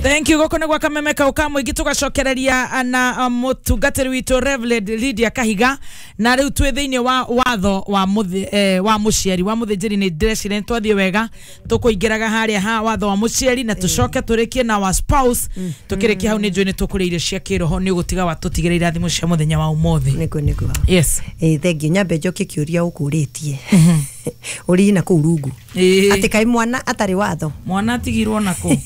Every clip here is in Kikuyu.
Thank you. Goko nĩ gwa Kameme kau ka mũingĩ tũgacokereria na mũtungatĩri witũ Reverend Lydia Kahiga, na rĩu twĩ thĩinĩ wa watho wa wa mũciari wa mũthĩnjĩri. Nĩ ndĩreciria nĩ twathiĩ wega, tũkũingĩraga harĩa ha watho wa mũciari na tũcoke tũrĩkie na wa spouse. Tũkĩrĩkia hau nĩ njũĩ nĩ tũkũrĩa irio cia kĩroho, nĩ ũgũtiga watũtigĩra irathimo cia mũthenya wa ũmũthĩ. Nĩguo. Yes. Ĩ, thengiũ. Nyambe njokie kĩũria ũkũrĩtie ũrĩ na kũu rungu, atĩ kaĩ mwana atarĩ watho. Mwana atigirwo nako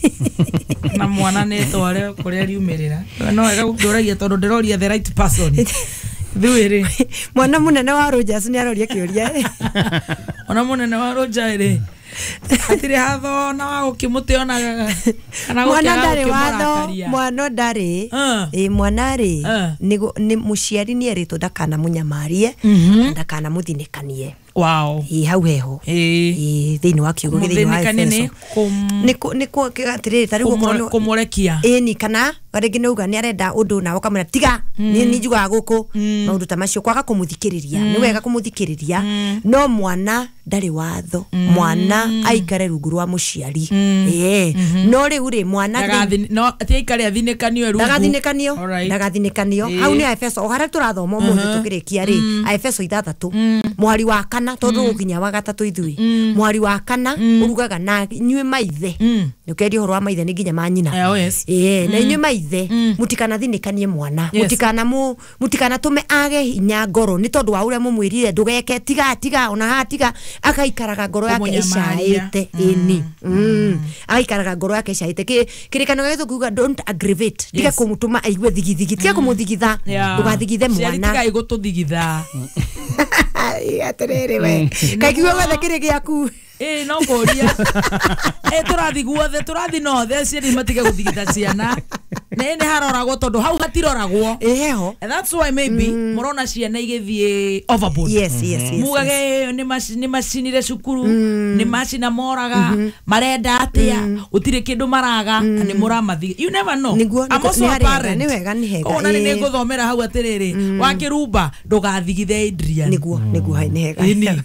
na mwana nĩ tware kũrĩa riumĩrĩra. No wega gũkĩũragia tondũ ndĩroria the right person ithuĩ rĩ. Mwana mũnene wa Rogers nĩ aroria kĩũria. Ona mũnene wa Roja rĩ, hatirĩ hatho na wa gũkĩmũte ona kana mwana gũkĩaga ndarĩ watho. gũkĩmũrakaria. Mwana ndarĩ, ĩ, mwana rĩ, nĩ mũciari nĩ erĩtwo ndakanamũnyamarie na ndakanamũthinĩkanie. Ĩ, hau heho. Ĩ, thĩinĩ wa kiugo thĩinĩ wa Mũthĩnĩkanie nĩ Efeso. Nĩ atĩrĩrĩ, ta rĩu okorwo kũmũrekia. Ĩni, kana rĩngĩ nĩ uga nĩ arenda ũndũ nawe ũkamwĩra tiga, nĩ njugaga gũkũ maũndũ ta macio, kwaga kũmũthikĩrĩria. Nĩ wega kũmũthikĩrĩria, no mwana ndarĩ watho, mwana aikare rungu rwa mũciari. Ĩĩ, no rĩu rĩ, mwana no ti aikare athinĩkanio rungu. Ndagathinĩkanio. Ndagathinĩkanio. Hau nĩ Aefeso, o harĩa tũrathoma ũmũthĩ tũkĩrĩkia rĩ, Aefeso 6 mũhari wa 4, tondũ gũkinya wa 3 ithuĩ, mũhari wa 4 ũrugaga, na inyuĩ maithe, nĩ ũkeria ũhoro wa maithe nĩ nginya manyina. Oh, yes. Ĩĩ, na inyuĩ maithe mũtikanathinĩkanie mwana, mũtikanatũme age hinya ngoro nĩ tondũ wa ũrĩa mũmwĩrire ndũgeke, tiga, tiga, ona haha tiga, agaikaraga ngoro yake Kũmũnyamaria. ĩcaĩte. Ĩni, agaikaraga ngoro yake ĩcaĩte. Kĩrĩkanĩro gĩa gĩthũngũ kiuga don't aggravate, tiga kũmũtũma aigue thigithigi, tiga kũmũthigitha. Ndũgathigithe Ciari mwana. tigai gũtũthigitha. Ĩ, atĩrĩrĩ, we kaigua guothe kĩrĩ gĩaku. Ĩ, no kũria ĩ tũrathi guothe, tũrathi nothe, ciari matige gũthigitha ciana na ĩ nĩ haroragwo tondũ hau hatiroragwo. Ĩ, heho. And that's why maybe mũrona ciana igĩthiĩ overboard. Mugage nĩ macinire cukuru, nĩ macina moraga, marenda atĩa, gũtirĩ kĩndũ maraga na nĩ mũramathiga. You never know. Nĩguo, I'm also nĩ a harĩ hega, parent. nĩ wega, nĩ hega, Koguo na nĩ ngũthomera hau atĩrĩrĩ, wakĩrumba ndũgathigithe Adrian. Nĩguo, hai, nĩ hega. Ĩni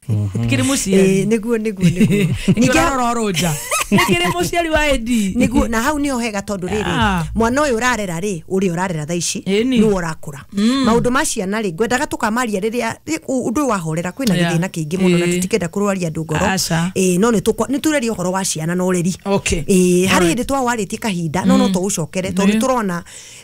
kĩrĩ mũciari. Ĩ, nĩguo. Ningĩ ũrarora ũrũnja nĩ kĩrĩ mũciari wa Edi. Nĩguo, na hau nĩho hega tondũ rĩrĩ, mwana ũyũ ũrarera rĩ, ũrĩa ũrarera thaa ici, nĩwe ũrakũra. Maũndũ ma ciana rĩ, ngwendaga tũkamaria rĩrĩa ũndũ ũyũ wahorera kwĩna gĩthĩna kĩingĩ mũno na tũtikenda kũrwaria andũ ngoro. Aca. Ĩ, no nĩ tũreria ũhoro wa ciana na ũreri. Ĩ, harĩ hĩndĩ twawarĩtie kahinda, no tũũcokere tondũ nĩ tũrona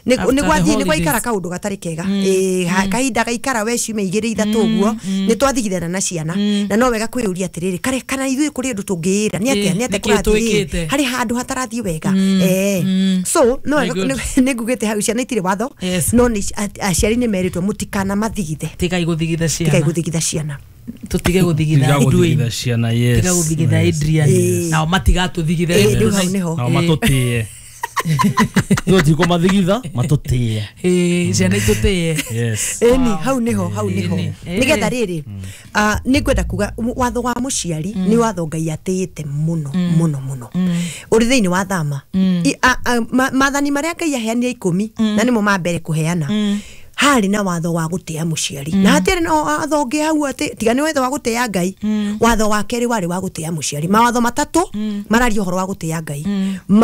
After nĩ the gwathiĩ nĩ holidays. gwaikara kaũndũ gatarĩ kega. Ĩ, kahinda gaikara we ciumia 2 3 ũguo nĩ twathigithana na ciana, na no wega kwĩyũria atĩrĩrĩ, kare kana ithuĩ kũrĩ ũndũ tũngĩĩra nĩ atĩa, nĩ atĩa Nĩkĩĩ kũrathiĩ twĩkĩte? harĩ handũ hatarathiĩ wega. So no Very wega good. nĩ ngugĩte hau ciana itirĩ watho, no nĩ aciari nĩ merĩtwo mũtikanamathigithe. Tigai gũthigitha Tigai ciana. gũthigitha ciana. Tũtige gũthigitha Tiga Edwin. gũthigitha ciana, yes. Tiga gũthigitha Adrian. Nao matigatũthigithe. Ĩ, rĩu hau nĩho. Nao matũtĩe, ithuĩ tikũmathigitha, matũtĩe. Ĩ, ciana itũtĩe. Ĩni, hau nĩho, hau nĩho. Nĩgetha rĩrĩ, nĩ ngwenda kuga watho wa mũciari nĩ watho Ngai atĩĩte mũno mũno mũno, ũrĩ thĩinĩ wa thama. Maathani marĩa Ngai aheanire 10, na nĩmo ma mbere kũheana, harĩ na watho wa gũtĩa mũciari, na hatiarĩ na watho ũngĩ hau atĩ tiga nĩ watho wa gũtĩa Ngai. Watho wa kerĩ warĩ wa gũtĩa mũciari. Mawatho matatũ mararia ũhoro wa gũtĩa Ngai.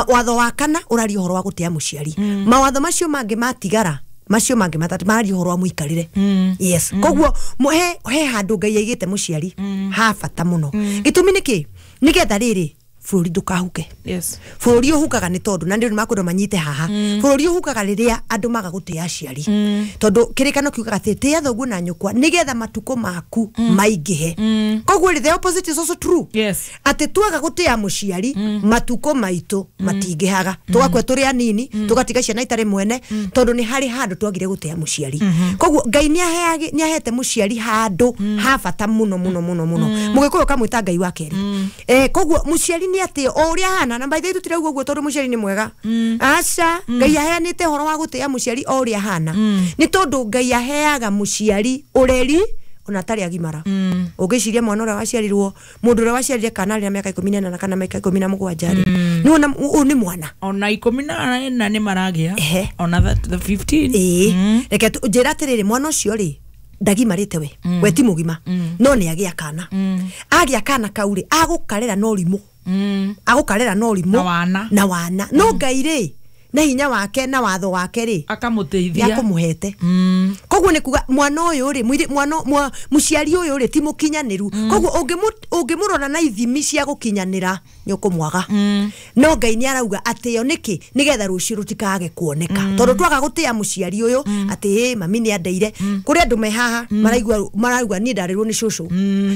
Watho wa kana ũraria ũhoro wa gũtĩa mũciari. Mawatho macio mangĩ matigara, macio mangĩ matatũ mararia ũhoro wa mũikarĩre. Yes, koguo he handũ Ngai aigĩte mũciari ha bata mũno. Gĩtũmi nĩ kĩ? Nĩgetha rĩrĩ bũrũri ndũkahuke. Bũrũri ũhukaga nĩ tondũ na nĩ makwenda manyite haha, bũrũri ũhukaga rĩrĩa andũ maga gũtĩa aciari, tondũ kĩrĩkano kiugaga atĩ tĩa thoguo na nyũkwa nĩgetha matukũ maku maingĩhe. Koguo rĩ, the opposite is also true, atĩ twaga gũtĩa mũciari, matukũ maitũ matingĩhaga, tũgakua tũrĩ anini, tũgatiga ciana itarĩ mwene, tondũ nĩ harĩ handũ twagire gũtĩa mũciari. Koguo Ngai nĩ ahete mũciari handũ ha bata mũno mũno mũno mũno. Mũgĩkũyũ kamwĩta Ngai wa kerĩ. Koguo mũciari nĩ atĩo o ũrĩa ahana, na by the way tũtirauga ũguo tondũ mũciari nĩ mwega, aca. Ngai aheanĩte ũhoro wa gũtĩa mũciari o ũrĩa ahana nĩ tondũ Ngai aheaga mũciari ũreri ona atarĩ agimara. Ũngĩciria mwana ũrĩa waciarirwo, mũndũ ũrĩa waciarire kana arĩ na mĩaka 18 kana mĩaka 17 rĩ, nĩwona ũyũ nĩ mwana. Ona 14 nĩ maragĩa. Ona the 15. Ĩĩ, reke njĩra atĩrĩrĩ, mwana ũcio rĩ, ndagimarĩte, we ti mũgima, no nĩ agĩa kana, agĩa kana kau rĩ, agũkarera no rimũ, agũkarera no rimũ Na wana. Na wana. No Ngai rĩ, na hinya wake na watho wake rĩ akamũteithia nĩakũmũhete. Koguo nĩ kuga mwana ũyũ rĩ, mwana mũciari ũyũ rĩ ti mũkinyanĩru. Koguo ũngĩmũrora na ithimi cia gũkinyanĩra nĩ ũkũmwaga. No Ngai nĩ arauga atĩo nĩkĩ nĩgetha rũciũ rũtikage kuoneka. Tondũ twaga gũtĩa mũciari ũyũ atĩ ĩ mami nĩ andeire. Kũrĩ andũ me haha marauga niĩ ndarĩrwo nĩ cũcũ.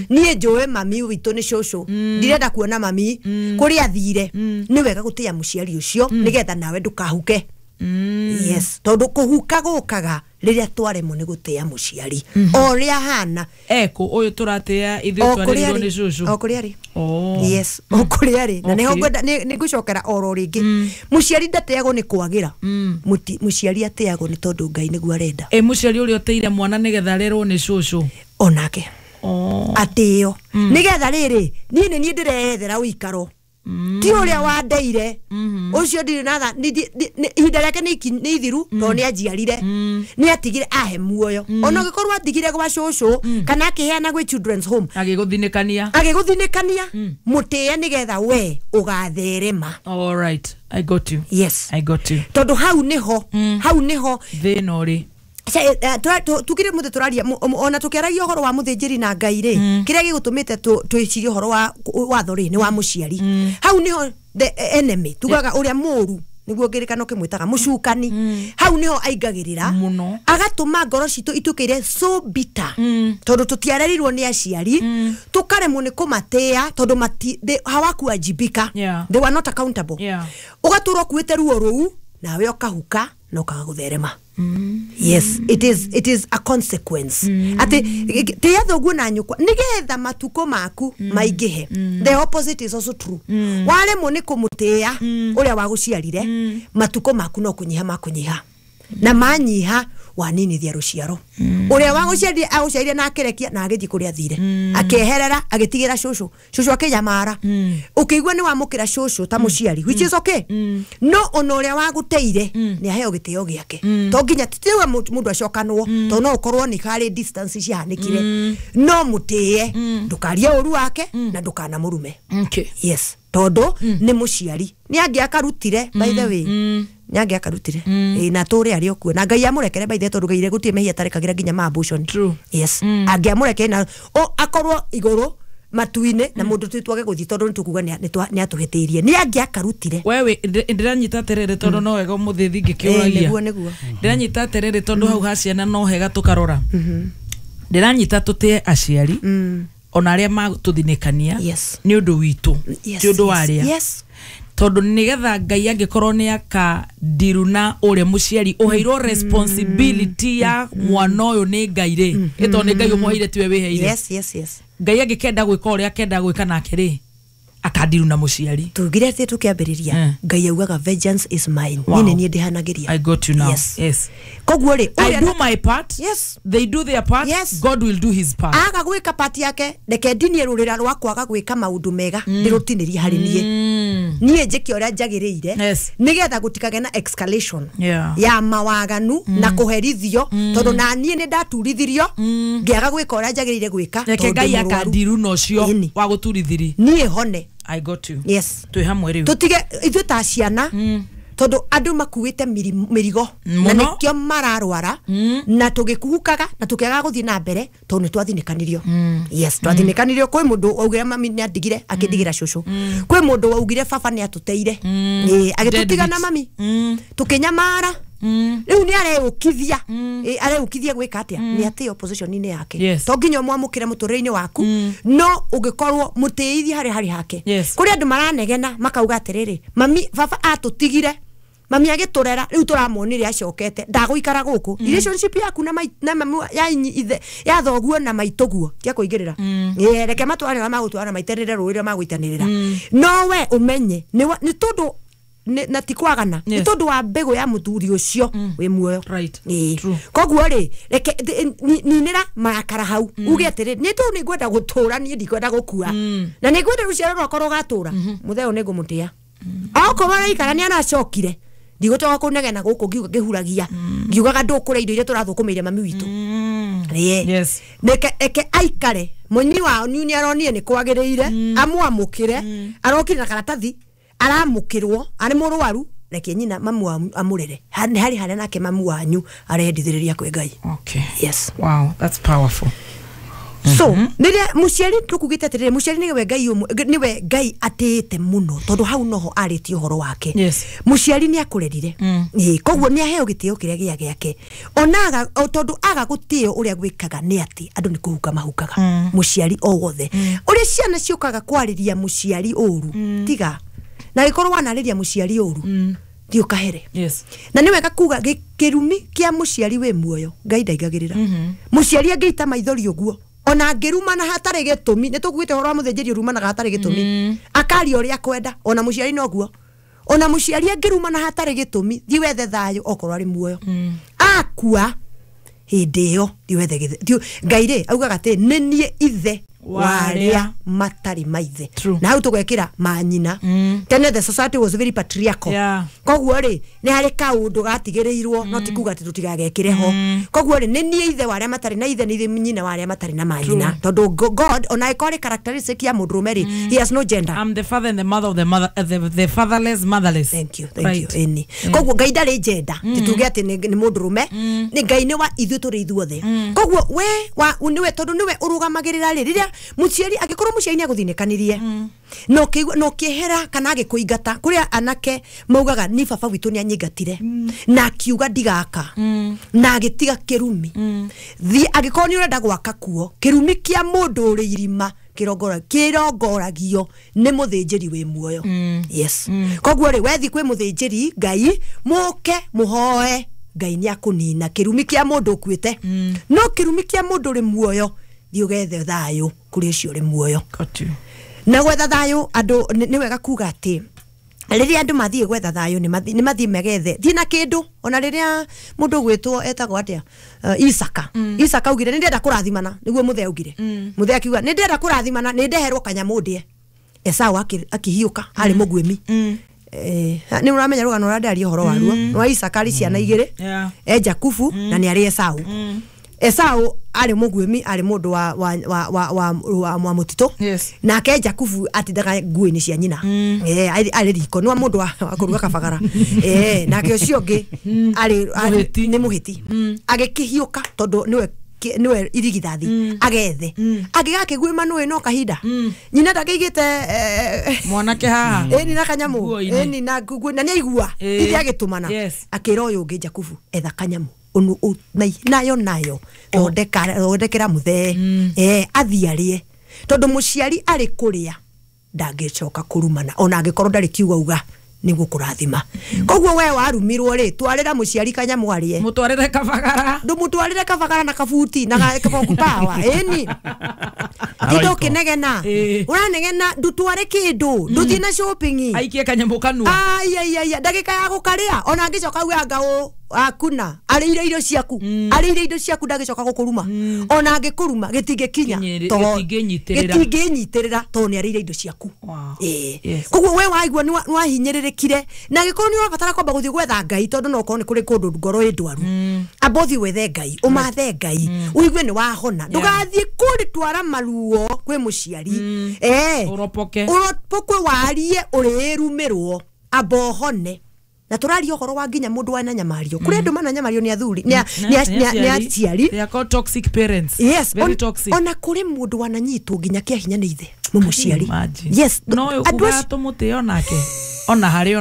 Niĩ njũĩ mami witũ nĩ cũcũ. Ndirenda kuona mami kũrĩa athire. Nĩ wega gũtĩa mũciari ũcio nĩgetha nawe ndũkahuke. Yes, tondu kuhuka gukaga riria twaremwo ni gutia muciari o ria hana eko uyu turatia ithuĩ twarerirwo ni cucu o kuria ri. Yes, o kuria ri na niho ngwenda ni ngucokera oro ringi. Muciari ndateagwo ni kwagira, muciari ateagwo ni tondu Ngai niguo arenda. Muciari uria uteire mwana nigetha arerwo ni cucu onake atio nigetha riri ni ni ndirethera uikaro ti uria wandeire ucio ndiri na ihinda rĩake nĩ ithiru tondũ nĩ anjiarire nĩ atigire ahe muoyo ona ũngĩkorwo atigire gwa cũcũ kana akĩheana gwĩ children's home agĩgũthinĩkania mũtĩe nĩgetha we ũgatherema. All right, I got you. Yes, I got you. Tondũ hau nĩho hau nĩho thĩna ũrĩ. Tukire muthe turaria ona tukiaragia uhoro wa muthinjiri na Ngai ri kiria gigutumite twicirie uhoro wa watho ri ni wa muciari. Hau niho the enemy tugaga uria muru niguo ngirikano kimwitaga mucukani. Hau niho aingagirira agatuma ngoro citu itukire so bitter tondu tutiarerirwo ni aciari tukaremwo ni kumatia tondu hawakuwajibika. They were not accountable. Ugaturwo kuite ruo ruu nawe ukahuka na ukaga gutherema. Yes, it is a consequence. Ati tia thoguo na nyukwa nigetha matuko maku maingihe. The opposite is also true. Waremwo ni kumutia uria waguciarire matuko maku no kunyiha makunyiha na manyiha waninithia ruciaro. Uria waguciarire aguciarire na akerekia na agithii kuria athire akeherera agitigira cucu cucu akinyamara. Ukigua ni wamukira cucu ta muciari, which is okay. No ona uria waguteire ni aheo gitio giake to nginya titiwe mundu acokanwo to no ukorwo ni kari distance ciahanikire no mutie ndukarie uru wake na ndukana murume. Okay. Yes, tondu ni muciari ni angiakarutire by the way ni angiakarutire na turi ari okuo na Ngai amurekere by the way tondu Ngai gutie mehia tarekagira nginya ma abortion. True. Yes, angiamurekere na o akorwo iguru matuine na mundu twage guthi tondu nitukuga ni atuhitiirie ni angiakarutire. Wewe ndiranyita terere tondu no wega muthithi ngikiuragia niguo niguo ndiranyita terere tondu hau ha ciana no hega tukarora ndiranyita tutie aciari ona aria matuthinikania ni undu witu ti undu waria. Yes, tondu nigetha Ngai angikorwo ni akandiru na uria muciari uheirwo responsibility ya mwana uyu ni Ngai ri ito ni Ngai umuheire tiwe wiheire. Yes, yes, yes. Ngai angikenda gwika uria akenda gwika nake ri akandiru na muciari tugire ati tukiambiriria Ngai augaga vengeance is mine. Ni ni ndihanagiria. I got you now. Yes, yes. Koguo ri I do my part. Yes, they do their part. Yes. God will do his part. Aga gwika part yake reke ndinie rurira rwa kwaga gwika maundu mega ndirutinirie hari nie nie njike uria njagiriire nigetha gutikage na escalation ya mawaganu na kuherithio tondu na nie ni ndaturithirio ngiaga gwika uria njagiriire gwika reke Ngai akandiru na ucio wa guturithiri nie hone. I got you. Yes, twi hamwe riu tutige ithuĩ ta ciana tondu andu makuite mirigo na nikio mararwara na tugikuhukaga na tukiaga guthii na mbere tondu ni twathinikanirio. Yes, twathinikanirio kwi mundu waugire mami ni andigire akindigira cucu, kwi mundu waugire baba ni atuteire agitutiga na mami tukinyamara. Riu ni areukithia areukithia gwika atia ni ati opposition ini yake to nginya mwamukire muturire-ini waku no ungikorwo mutiithie hari hake. Kuri andu maranegena makauga atiriri mami baba atutigire mami agiturera riu turamuonire acokete ndaguikara guku. Relationship yaku na na mami ya ithe ya thoguo na maituguo tia kuingirira reke matware wa magutwara maiterere rurire maguitanirira no we umenye ni tondu na ti kwagana ni tondu wa mbegu ya muthuri ucio wi muoyo. Right. Koguo ri reke ninira marakara hau uge atiri ni tondu ni ngwenda gutura ni ndikwenda gukua na ni ngwenda ruciaro rwakwa rugatura mutheo ni ngumutia akorwo araikara ni aracokire ndigotoka kunegena guku ngiuga ngihuragia ngiugaga ndukure indo iria turathukumiire mami witu. Yes. Neke eke aikare munyi wao ni aronire ni kwagiriire amwamukire arokire na karatathi aramukirwo ari murwaru Reke nyina mamu amurere. Hari haria nake mamu wanyu arendithĩrĩria kwĩ Ngai. Okay. Yes. Wow, that's powerful. So, rĩrĩa mũciari tũkugĩte atĩrĩrĩ, mũciari nĩwe Ngai nĩwe Ngai atĩĩte mũno tondũ hau noho arĩtie ũhoro wake. Yes. Mũciari nĩ akũrerire. Ĩĩ, koguo nĩ aheo gĩtĩo kĩrĩa gĩa gĩake. Ona tondũ aga gũtĩo ũrĩa gwĩkaga nĩ atĩ andũ nĩ kũhuka mahukaga. Mũciari o wothe. Ũrĩa ciana ciũkaga kwarĩria mũciari ũru, tiga. Na gĩkorwo wanarĩria mũciari ũru, thiĩ ũkahere. Yes. Na nĩ wega kuga kĩrumi kĩa mũciari wĩ muoyo Ngai ndaigagĩrĩra. Mũciari angĩita maithori ũguo ona angĩrumana hatarĩ gĩtũmi, nĩ tũkuĩte ũhoro wa mũthĩnjĩri ũrumanaga hatarĩ gĩtũmi, akaria ũrĩa akwenda, ona mũciari noguo. Ona mũciari angĩrumana hatarĩ gĩtũmi, thiĩ wethe thayũ okorwo arĩ muoyo. Akua hĩndĩ ĩyo thiĩ wethe Ngai rĩ augaga atĩ nĩ niĩ ithe warĩa matarĩ maithe. Na hau tũgekĩra manyina. Tene the society was very patriarchal. Yeah. Koguo rĩ nĩ harĩ kaũndũ gatigĩrĩirwo, no ti kuga atĩ tũtigagekĩre ho. Koguo rĩ nĩ niĩ ithe wa arĩa matarĩ na ithe, nĩ nyina wa arĩa matarĩ na manyina. Tondũ God ona ĩkorwo arĩ characteristic ya mũndũrũme rĩ, he has no gender. I'm the father and the mother of the mother, the fatherless motherless. Thank you, thank you. Ĩni. Koguo Ngai ndarĩ gender. Tituge atĩ nĩ mũndũrũme, nĩ Ngai nĩ wa ithuĩ tũrĩ ithuothe. Koguo we nĩwe tondũ nĩwe ũrũgamagĩrĩra rĩ, rĩrĩa mũciari angĩkorwo mũciari nĩ agũthinĩkanirie no kĩhera kana agĩkũingata, kũrĩa anake maugaga ni baba witũ nĩ anyingatire na akiuga ndigaka na agĩtiga kĩrumi. Thiĩ angĩkorwo nĩ ũrenda gwaka kuo, kĩrumi kĩa mũndũ ũrĩ irima kĩrongoragio nĩ mũthĩnjĩri wĩ muoyo. Yes. Koguo rĩ wethi kwĩ mũthĩnjĩri Ngai, mũke mũhoe Ngai nĩ akũnina kĩrumi kĩa mũndũ ũkuĩte. No kĩrumi kĩa mũndũ ũrĩ muoyo, thiĩ ũgethe thayũ kũrĩ ũcio ũrĩ muoyo. Got you. Na gwetha thayũ andũ nĩ wega kuga atĩ rĩrĩa andũ mathiĩ gwetha thayũ nĩ mathiĩ megethe thiĩ na kĩndũ. Ona rĩrĩa mũndũ ũgwĩtwo etagwo atĩa, Isaka. Isaka augire nĩ ndĩrenda kũrathimana, nĩguo mũthee augire. Mũthee akiuga nĩ ndĩrenda kũrathimana, nĩ ndeherwo kanyamũ ndĩe. Esau akĩhiũka arĩ mũguĩmi. Nĩ ũramenya rũgano rũrĩa ndaria ũhoro waruo rwa Isaka arĩ ciana igĩrĩ, e Jakubu na nĩ arĩ Esau. Esau arĩ mũguĩmi, arĩ mũndũ wa mũtitũ. Yes. Nake Jakubu atindaga nguo-inĩ cia nyina. Arĩ riko, nĩ wa mũndũ wa kũruga kabagara. Nake ũcio ũngĩ arĩ nĩ mũhĩti. Agĩkĩhiũka tondũ nĩwe irigithathi, agethe. Agĩgakĩguĩma nũĩ no kahinda. Nyina ndakĩigĩte mwanake haha. Ĩni na kanyamũ, ĩni na nguo, na nĩaigua ithe agĩtũmana. Akĩra ũyũ ũngĩ Jakubu, etha kanyamũ nayo nayo thondekera muthee athiĩ arĩe, tondũ mũciari arĩ kũrĩa ndangĩcoka kũrumana ona angĩkorwo ndarĩ kiugo auga nĩ gũkũrathima. Koguo we warumirwo rĩ, twarĩra mũciari kanyamũ arĩe, mũtwarĩre kabagara, ndũmũtwarĩre kabagara na kabuti na kaboku pawa. Ĩni tinda ũkĩnegena, ũranegena, ndũtware kĩndũ, ndũthiĩ na shopping, aikie kanyamũ kanua. Ai ndagĩka ya gũkarĩa ona angĩcoka auge anga ũ akuna arĩire irio ciaku, arĩire indo ciaku, ndagĩcoka gũkũruma. Ona angĩkũruma gĩtingĩkinya, gĩtingĩnyitĩrĩra tondũ nĩ arĩire indo ciaku. Koguo we waigua nĩ wahinyĩrĩrĩkire, na angĩkorwo nĩ ũrabatara kwamba gũthiĩ gwetha Ngai, tondũ no ũkorwo nĩ kũrĩ kũndũ ngoro ĩ ndwaru, amba ũthiĩ wethe Ngai, ũmathe Ngai, ũigue nĩ wahona. Ndũgathiĩ kũrĩtwara maruo kwĩ mũciari, ũropokwe warie ũrĩrumĩrwo, amba ũhone. Na tũraria ũhoro wa nginya mũndũ wana nyamario. Kũrĩ andũ mana nyamario nĩ athuri, nĩ aciari. They are called toxic parents. Yes, very toxic. Ona kũrĩ mũndũ wananyitwo nginya kĩa hinya nĩ ithe mũmũciari. Yes, no ũkuga tũmũtĩo nake ona harĩ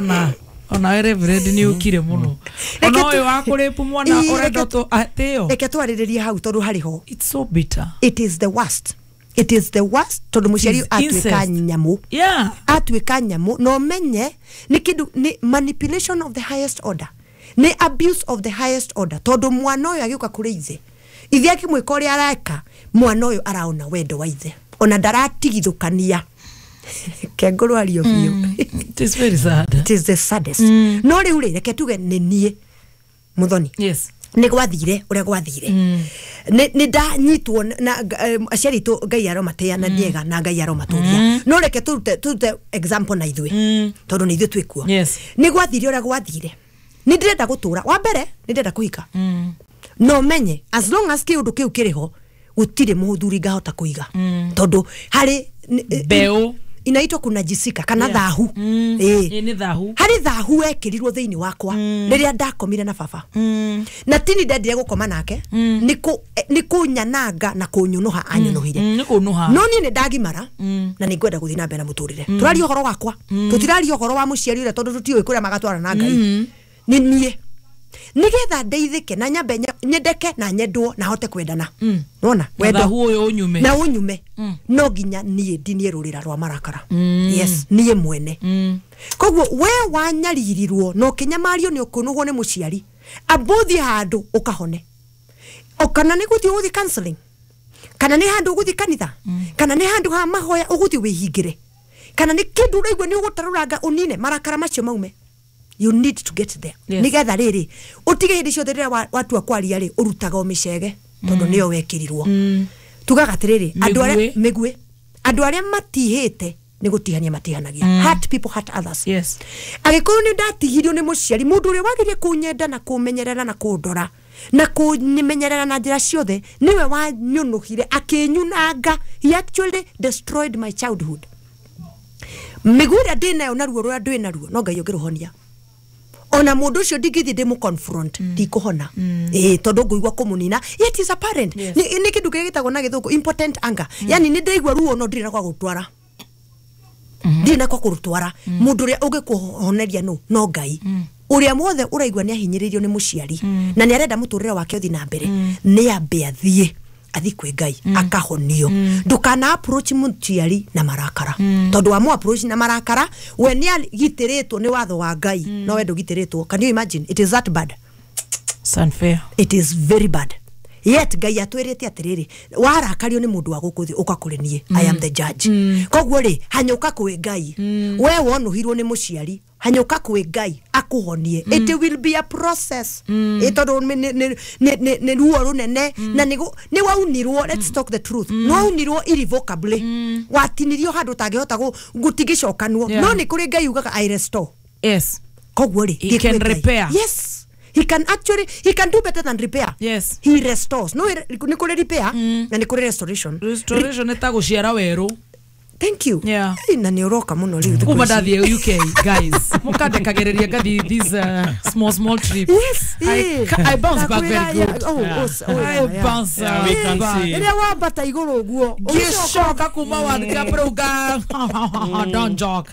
ona we Reverend nĩ ũkire mũno. Ona ũyũ wa kũrĩpu mwana ũrenda tũtĩo. Reke twarĩrĩrie hau tondũ harĩ ho. It's so bitter. It is the worst. It is the worst tondũ mũciari atuĩka nyamũ. Yeah. Atuĩka nyamũ no menye nĩ kĩndũ, nĩ manipulation of the highest order, nĩ abuse of the highest order. Tondũ mwana ũyũ agĩũka kũrĩ ithe, ithe akĩmwĩka ũrĩa areka, mwana ũyũ araona wendo wa ithe, ona ndaratigithũkania. Kengũrũ ario biũ. It is very sad. It is the saddest. No rĩu rĩ, reke tuge nĩ niĩ Muthoni. Yes. Nĩ gwathire ũrĩa gwathire. Nĩ ndanyitwo na aciari aitũ, Ngai aromatĩa na nĩega na Ngai aromatũria. No reke tũrute example na ithuĩ, tondũ nĩ ithuĩ twĩ kuo. Nĩ gwathire ũrĩa gwathire. Nĩ ndĩrenda gũtũra. Wa mbere nĩ ndĩrenda kũhika. No menye as long as kĩũndũ kĩu kĩrĩ ho, gũtirĩ mũthuri ngahota kũiga. Tondũ harĩ mbeũ Inaitwa kunajisika kana thahu. Ni thahu. Hari thahu wekirirwo thiini wakwa riria ndakomire na baba. Na tini ndendire gukoma nake ni kunyananga na kunyunuha anyunuhire. Ni kunuha. No ni ndagimara na ni ngwenda guthii na mbere na muturire. Turaria uhoro wakwa. Tutiraria uhoro wa muciari uria tondu tutiui kuria magatwara na Ngai. Ni nie. Nigetha ndeithike na nyambe nyendeke na nyendwo na hote kwendana. Nona wendo uyu unyume na unyume no nginya nie ndinie rurira rwa marakara. Yes, nie mwene. Koguo we wanyaririrwo no kinyamario ni ukunuhwo ni muciari abuthi handu ukahone okana ni guthi uguthi counseling kana ni handu uguthi kanitha kana ni handu ha mahoya uguthi wihingire kana ni kindu uraigua ni ugutaruranga unine marakara macio maume. You need to get there. Yes. Nigetha riri utige hindi ciothe riria watua kwaria ri urutaga o micege tondu niyo wekirirwo. Tugaga atiriri andu aria migue andu aria matihite ni gutihania matihanagia. Hurt people hurt others. Yes. Agikorwo ni ndatigirio ni muciari mundu uria wagirie kunyenda na kumenyerera na kundora na kunyimenyerera na njira ciothe niwe wanyunuhire akinyunanga. He actually destroyed my childhood. Miguu ria ndinayo na ruo ruria ndwi naruo no Ngai ungiruhonia. Ona mundu ucio ndingithi ndimu confront ndikuhona tondu nguigua kumunina yet is apparent. Yes. Ni kindu kiria gitagwo na githungu impotent anger. Yani ni ndaigua ruo no ndiri na kwa gutwara. Ndiri na kwa kurutwara. Mundu uria ungikuhoneria no Ngai. Uria mwothe uraigua ni ahinyiririo ni muciari na ni arenda muturire wake uthi na mbere ni ambe athie athi kwi Ngai akahonio. Ndukana approach muciari na marakara tondu wa mu approach na marakara we ni agitiritwo ni watho wa Ngai no we ndugitiritwo. Can you imagine? It is that bad. It's unfair. It is very bad. Yet Ngai atwirite atiriri warakario ni mundu wa guku thi uka kuri nie. I am the judge. Koguo ri hanyuka kwi Ngai. We wonuhirwo ni muciari hanyuka kwi Ngai akuhonie. It will be a process. Tondu ni ruo runene na ni waunirwo. Let's talk the truth. Ni waunirwo irrevocably. Watinirio handu utangihota gutigicokanwo. No ni kuri Ngai ugaga I restore. Yes. Koguo ri he can repair. Yes. He can actually, he can do better than repair. Yes. He restores. No, ni kuri repair na ni kuri restoration. Restoration ni ta guciara weru. Thank you. Yeah. Na ni uroka muno riu. Kuma ndathie UK guys. Mukandekagereria ngathi these small trip. Yes. I bounce back very good. I bounce. We can see. Ria wambata iguru uguo. Ngicoka kuma World Cup rauga. Don't joke.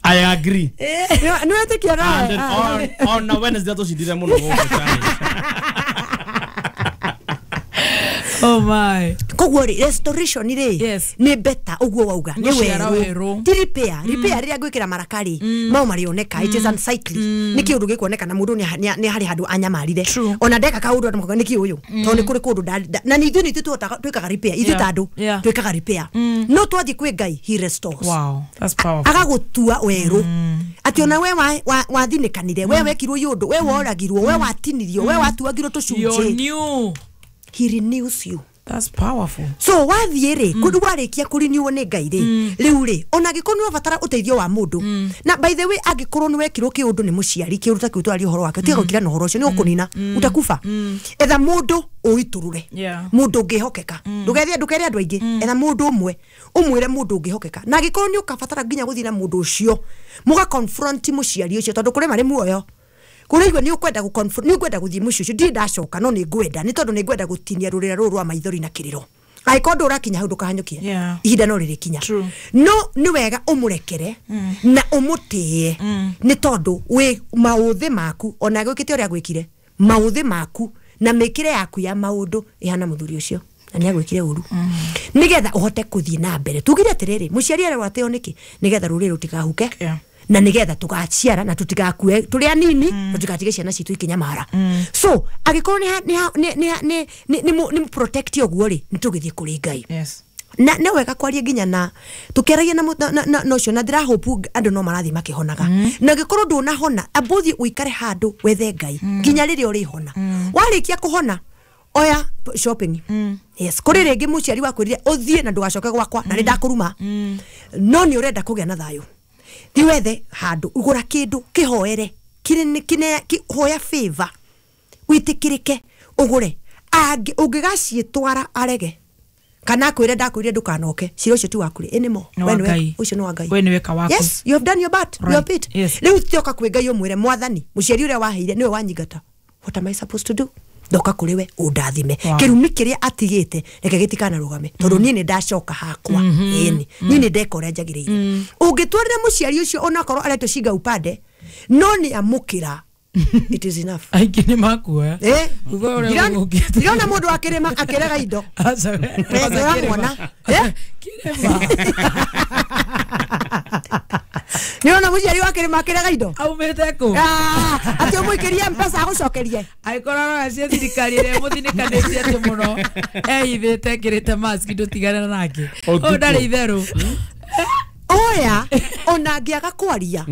I agree. No etikia na. On na Wednesday tucindire muno guku challenge. Oh my. Koguo ri restoration ri ni better uguo wauga ni weru. Ti repair, repair riria ngwikira marakari mau marioneka. It is unsightly. Ni kiundu gikuoneka na mundu ni hari handu anyamarire. Ona ndeka kaundu andu makoga ni ki uyu. Tondu ni kuri kundu na ni ithuĩ ni ithuĩ twikaga repair. Ithuĩ ta andu twikaga repair. No twathi kwi Ngai he restores. Wow, that's powerful. Agagutua weru. Ati ona we wathinikanire, we wekirwo yundu, we woragirwo, we watinirio, we watuagirwo tucunjĩ. He renews you. That's powerful. So wathie ri kundu warikia kurenew ni Ngai ri riu ri ona gikorwo ni wabatara uteithio wa mundu. Na by the way angikorwo ni wekirwo kiundu ni muciari kiundu ta kiu twari uhoro wake tiga gukira na uhoro ucio ni gukunina utakufa. Etha mundu uiturure mundu ungihokeka ndugethie ndukere andu aingi etha mundu umwe umwire mundu ungihokeka na angikorwo ni ukabatara nginya guthii na mundu ucio muga confront muciari ucio tondu kuri mari muoyo kuri igwe ni ukwenda gu confront ni ukwenda guthii muciĩ ucio ndi ndacoka no ni ngwenda ni tondu ni ngwenda gutinia rurira ruru rwa maithori na kiriro angĩkorwo ndũrakinya hau ndũkahanyũkie ihinda no rĩrĩkinya no nĩ wega ũmũrekere na ũmũtĩe nĩ tondũ wĩ maũthĩ maku ona gwĩkĩte ũrĩa gwĩkire maũthĩ maku na mĩkĩre yaku ya maũndũ ĩhana mũthuri ũcio na nĩ agwĩkire ũru nĩgetha ũhote kũthiĩ na mbere tugire atĩrĩrĩ mũciari arerwo atĩo nĩkĩ nĩgetha rũrĩrĩ rũtikahuke na nigetha tugaciara na tutigakue turi anini tutikatige ciana citu ikinyamara so agikorwo ni protect uguo ri nitugithie kuri Ngai. Yes. Na ne wega kwaria nginya na tukeragia na no cio na ndira hope andu no marathi makihonaga na gikorwo ndunahona ambuthi uikare handu wethe Ngai nginya riria urihona warikia kuhona oya shopping. Yes, kuri ringi muciari wakwirire uthie na ndugacoke gwakwa na nindakuruma no ni urenda kugia na thayo thi wethe handu ugura kindu kihoere kine hoya favor witikirike ugure angi ungigaciitwara arege Kana akwĩre ndakwĩrire ndũkanoke. Cira ũcio ti waku rĩ anymore. Nĩ wa Ngai. Ũcio nĩ wa Ngai. We nĩwe ka waku. Yes, you have done your part. Right. Your bit. Yes. Rĩu tioka kwĩ Ngai ũmwĩre mwathani, mũciari ũrĩa waheire nĩwe wanyingata. What am I supposed to do? Ndoka kũrĩ we ũndathime. Wow. Kĩrumi kĩrĩa atigĩte reke gĩtikanarũgame tondũ niĩ nĩ ndacoka hakwa. Ĩni. Niĩ nĩ ndeka ũrĩa njagĩrĩire. Ũngĩtwarĩra mũciari ũcio onakorwo aretwo shinga upande no nĩ amũkĩra. It is enough. Aingĩ nĩ makuoya. Eh? Thutha ũrĩa ũgũkĩte. Ndĩrona mũndũ akĩrĩma akĩrega indo. Aca we. Eh, ndĩramwona. Eh? Kĩrĩma. Nĩrona mũciari wakĩrĩma akĩrega indo. Aumĩte kũ? Ah, atĩ ũmũikĩrie mpesa agũcokerie. Angĩkorwo arora cia thirikari ĩrĩa ĩmũthinĩkanĩtie atĩ mũno ehithĩte ekĩrĩte mask ndũtigane nake. Ũyũ ndarĩ itherũ. Oya ona angĩaga kwaria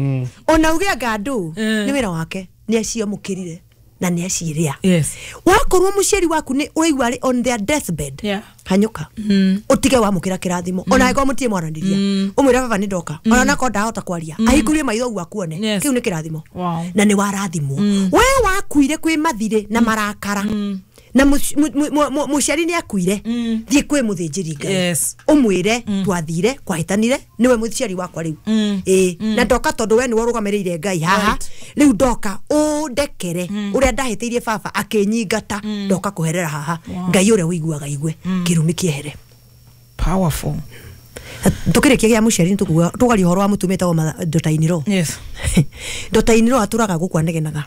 ona uge anga andũ Mm. nĩ wĩra wake nĩ aciamũkĩrire na nĩ aciĩrĩa. Yes. Wakorwo mũciari waku nĩ ũraigua arĩ on their deathbed Yeah. hanyũka ũtige wamũkĩra kĩrathimo ona angĩkorwo mũtirĩ mwaranĩria ũmwĩre baba nĩ ndoka ona nakorwo ndahota kwaria ahingũrie maitho ũguo akuone. Yes. Kĩu nĩ kĩrathimo. Wow. Na nĩ warathimwo. We wakuire kwĩ mathirĩ na marakara na mũciari nĩ akuire thiĩ kwĩ mũthĩnjĩri Ngai. Yes. Ũmwĩre twathire kwahĩtanire nĩwe mũciari wakwa rĩu. Ĩĩ na ndoka tondũ we nĩwe ũrũgamĩrĩire Ngai haha rĩu ndoka ũndekere ũrĩa ndahĩtĩirie baba akĩnyingata ndoka kũherera haha. Ngai ũrĩa ũiguaga igue kĩrumi kĩehere. Powerful. Tũkĩrĩkia gĩa mũciari nĩtũkuga tũgaria ũhoro wa mũtumia wĩtagwo Ndotainiro. Yes. Ndotainiro atũraga gũkũ anegenaga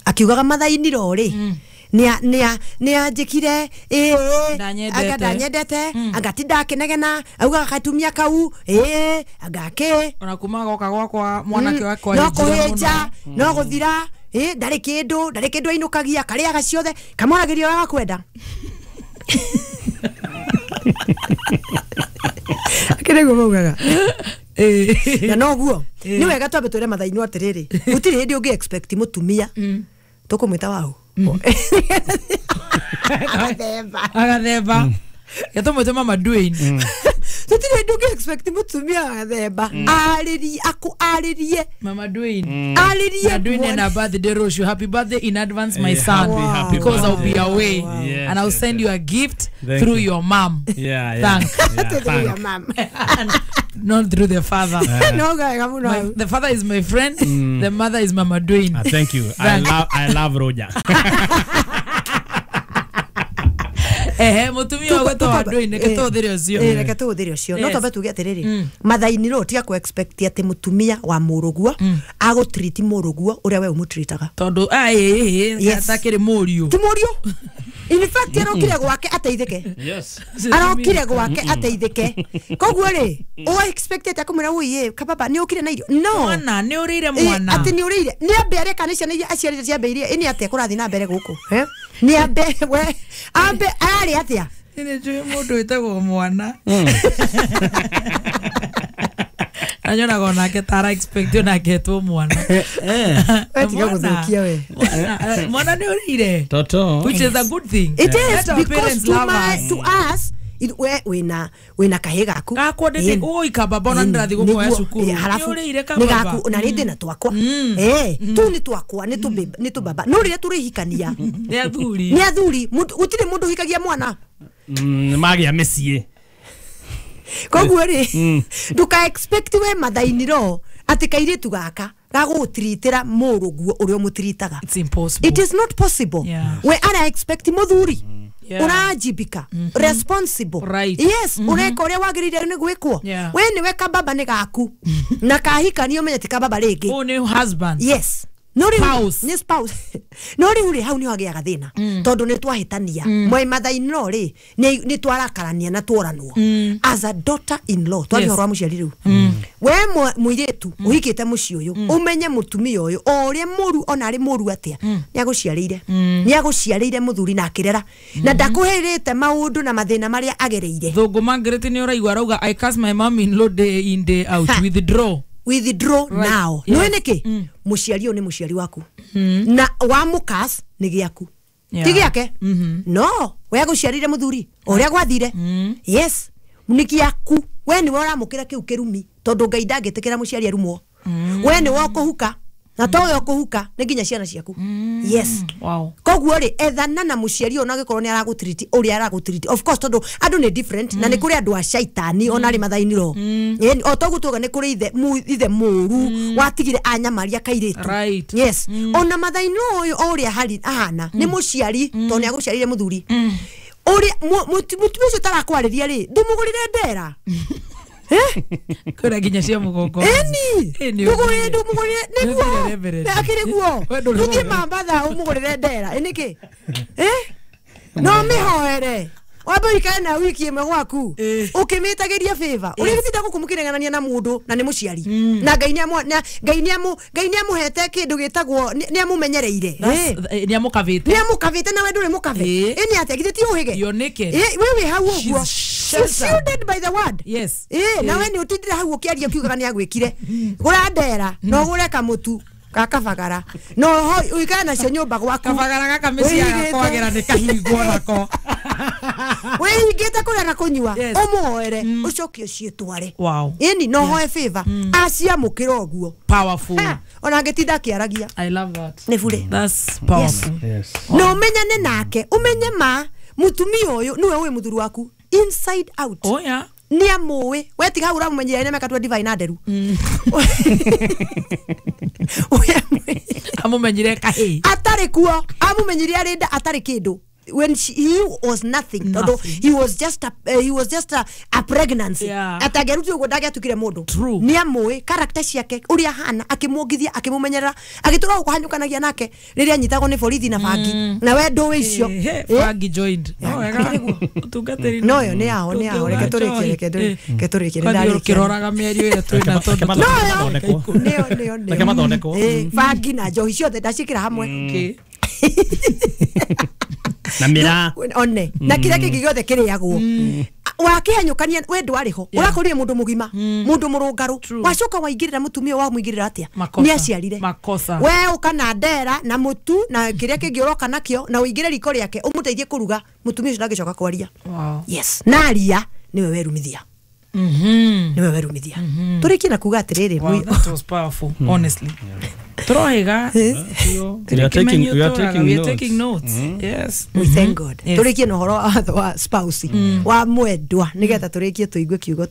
akiugaga mathainiro rĩ nĩ anjĩkire ĩĩ Ndanyendete. anga ndanyendete anga ti ndakĩnegena augaga gatumia kau ĩĩ anga kĩ Ona kuma goka gwakwa mwanake wakwa no ahĩnjire kũhĩnja mũno. no gũthira ĩ ndarĩ kĩndũ ndarĩ kĩndũ ainũkagia karĩaga ciothe kamoragĩria ũrĩa gakwenda. Akĩrĩguo maugaga na noguo nĩ wega twambe twĩre mathainũ atĩrĩrĩ gũtirĩ hĩndĩ ũngĩ expect mũtumia tũkũmwĩta waũ Agathemba. Agathemba. Gĩtũmwĩte mama Dwayne. Tũtirĩ hĩndĩ ũngĩ expect mũtumia agathemba arĩrie akũarĩrie Mama Dwayne. arĩrie Na Dwayne mwana. na birthday rũciũ. Happy birthday in advance my Eh, son. happy Because I'll be birthday. away. Yes, And I'll yes, send yes. you a gift Thank through you. your mom. Yeah, yeah. Thank. Yeah, Through your thank. mom. Not through the father. No wega mũno hau. The father is my friend. The mother is Mama Dwayne. Thank you. I love Roger. Ehe, mũtumia ũgwĩtwo wa Dwayne, reke tũhũthĩre ũcio. Ĩ, reke tũhũthĩre ũcio no Yes. twambe tuge atĩrĩrĩ mathainiro tiga kũ expect atĩ mũtumia wa mũrũguo agũtriti mũrũguo ũrĩa we ũmũtritaga. Tondũ ĩĩ Yes. atakĩrĩ mũriũ. Ti mũriũ. In fact arokire gwake ateithĩke. Yes. Arokire gwake ateithĩke. Koguo rĩ ũ expected akamwĩra ũiĩ kababa nĩ ũkire na irio no Mwana nĩ ũrĩire Ĩ, mwana. atĩ nĩ ũrĩire nĩ ambe arĩa kana ciana iria aciarĩte ciambĩirie ĩ nĩ atĩa kũrathiĩ na mbere gũkũ Eh? Nĩ ambe we ambe ararĩ atĩa. Nĩ njũĩ mũndũ wĩtagwo mwana. Na nyonaga onake ta ara expect onake etwo mwana. We tiga gũthũkia we. Mwana nĩ ũrĩire. Toto. Which is a good thing. It is Let our because parents to, love my, us. to us it, we wina wina kahĩ gaku Gakwa ndĩtĩ Ĩni. ũi kababa ona Ĩni. ndĩrathiĩ gũkũoya Nĩguo. cukuru. Ĩ, halafu Nĩ ũrĩire nĩ kababa. gaku na rĩndĩ na twakwa ĩ tũu nĩ twakwa nĩ tũbaba no rĩrĩa tũrĩhikania Nĩ athuri. nĩ athuri gũtirĩ mũndũ ũhikagia mwana. Magĩa mĩciĩ. Koguo rĩ ndũka expect we mathainiro atĩ kairĩtu gaka gagũgũtiritĩra mũrũguo ũrĩa ũmũtiritaga. It's impossible. It is not possible. Yeah. We ara expect mũthuri Yeah. ũrajibika responsible. Right. Yes, ũreka ũrĩa wagĩrĩire nĩ gwĩkwo. Yeah. We nĩwe kababa nĩ gaku na kahikania ũmenye ti kababa rĩngĩ. Ũyũ nĩ husband. Yes. No rĩu Spouse. nĩ spouse. No rĩu rĩ hau nĩho hagĩaga thĩna tondũ nĩ twahĩtania mwe mathainiro rĩ nĩ twarakarania na tworanwo as a daughter in law twaria Yes. ũhoro wa mũciari rĩu we mũirĩtu ũhikĩte mũciĩ ũyũ ũmenye mũtumia ũyũ o ũrĩa mũru ona arĩ mũru atĩa nĩ agũciarĩire nĩ agũciarĩire mũthuri na akĩrera na ndakũhĩrĩte maũndũ na mathĩna marĩa agereire. Thũngũ Margaret nĩ ũraigua arauga I curse my mom in law day in day out. Ha. Withdraw. Withdraw Right. now. Yes. Nĩũĩ nĩkĩ mũciari ũyũ nĩ mũciari waku na wamũkas nĩ gĩaku Yeah. ti gĩake no we agũciarire mũthuri o ũrĩa gwathire. Yes, nĩ gĩaku we nĩwe ũramũkĩra kĩu kĩrumi tondũ Ngai ndangĩtĩkĩra mũciari arumwo. We nĩwe ũkũhuka Na to we ũkũhuka, nĩ nginya ciana ciaku. Yes. Wow. Koguo rĩ, ethana na mũciari ona angĩkorwo nĩ aragũtiriti ũrĩa aragũtiriti. Of course, tondũ andũ nĩ different, na nĩ kũrĩ andũ a caitani ona arĩ mathainiro. O toguo tuoga nĩ kũrĩ ithe mũru watigire anyamaria kairĩtu. Right. Yes. Ona mathainiro ũyũ o ũrĩa ahana nĩ mũciari, tondũ nĩ agũciarire mũthuri. Ũrĩa mũtumia ũcio ũtarakwarĩria rĩ, ndũmũgũrĩre ndera. Kwĩna nginya cia mũgongo. Eni. Ĩni. Ndũmũgũrĩre nĩguo. Nĩ Reverend. Akĩrĩ guo. We ndũrĩ Tũthiĩ woga. Mambatha ũmũgũrĩre ndera. Ĩ nĩkĩ? No mĩhoere. Wambe ũikare na wiki ĩmwe gwaku. Ũkĩmĩtagĩria favor. Ũrĩa gĩtinda gũkũ mũkĩnegenania na mũndũ na nĩ mũciari. Na Ngai nĩ amũhete kĩndũ gĩtagwo nĩ amũmenyereire. Nĩ amũkavĩte. Nĩ amũkavĩte na we ndũrĩ mũkabe. Ĩ nĩ atĩa githĩ ti ũhĩge? You're naked. We wĩ hau ũguo. She's She's sheltered. shielded by the word. Yes. Na we nĩ ũtindire hau ũkĩaria ũkiugaga nĩ agwĩkire. Gũra ndera na ũgũre kamũtu ga kabagara no ũikare nacio nyũmba gwaku. Kabagara gaka mĩciĩ Wĩigĩte. kwagĩra nĩ kahingwo nako. Wĩhingĩte kũrĩa na kũnyua. Yes. Ũmũhoere ũcoke ũciĩtware. Wow. Ĩni no hoe favor aciamũkĩra ũguo. Powerful. Ha, ona angĩtinda akĩaragia. I love that. Nĩ bure. That's powerful. Yes. Na ũmenyane nake, ũmenye ma mũtumia ũyũ nĩwe ũĩ mũthuri waku inside out. Oh yeah. Nĩ amũĩ we tiga hau ũramũmenyera nĩ mĩaka 25 na nderu. Amũmenyire kahĩĩ. Atarĩ kuo, amũmenyire arĩ nda atarĩ kĩndũ. When he was nothing, tondũ he was just a pregnancy. Yeah. Atangĩarutirwo ũguo ndangĩatukire mũndũ. True. Nĩ amũĩ character ciake ũrĩa ahana, akĩmuongithia, akĩmũmenyerera, agĩtũra gũkũhanyũkanagia nake rĩrĩa anyitagwo nĩ borithi na bangi. Na we ndũĩ icio. Bangi joined. No wega. Ũtungatĩri. No yo nĩ yao, nĩ yao. Reke tũrĩkie, reke tũrĩkie, nĩ Kwani ndarĩkia. ũkĩroraga mĩario ĩrĩa twĩna tondũ No yo. Nĩyo, nĩyo, nĩyo. Reke mathondekwo. Bangi na njohi ciothe ndaciĩkĩra hamwe. Okay. Na mĩraa. One na kĩrĩa kĩngĩ gĩothe kĩrĩagwo. Wakĩhanyũkania we ndwarĩ ho, ũrakorire mũndũ mũgima, mũndũ mũrũngarũ, wacoka waingĩrĩra mũtumia wamũingĩrĩra atĩa? Makosa. Nĩ aciarire. Makosa. We ũka na ndera na mũtu na kĩrĩa kĩngĩ ũroka nakĩo na ũingĩre riko rĩake ũmũteithie kũruga, mũtumia ũcio ndangĩcoka kwaria. Wow. Yes. Na aria nĩwe werumithia. Nĩwe werumithia. Tũrĩkie na kuga atĩrĩrĩ, Wow, that was powerful, honestly. Tũrohiga. We are taking We are notes. taking notes. Yes. We thank God. Yes. Tũrĩkie na ũhoro wa spouse wa mwendwa nĩgetha tũrĩkie tũigue kiugo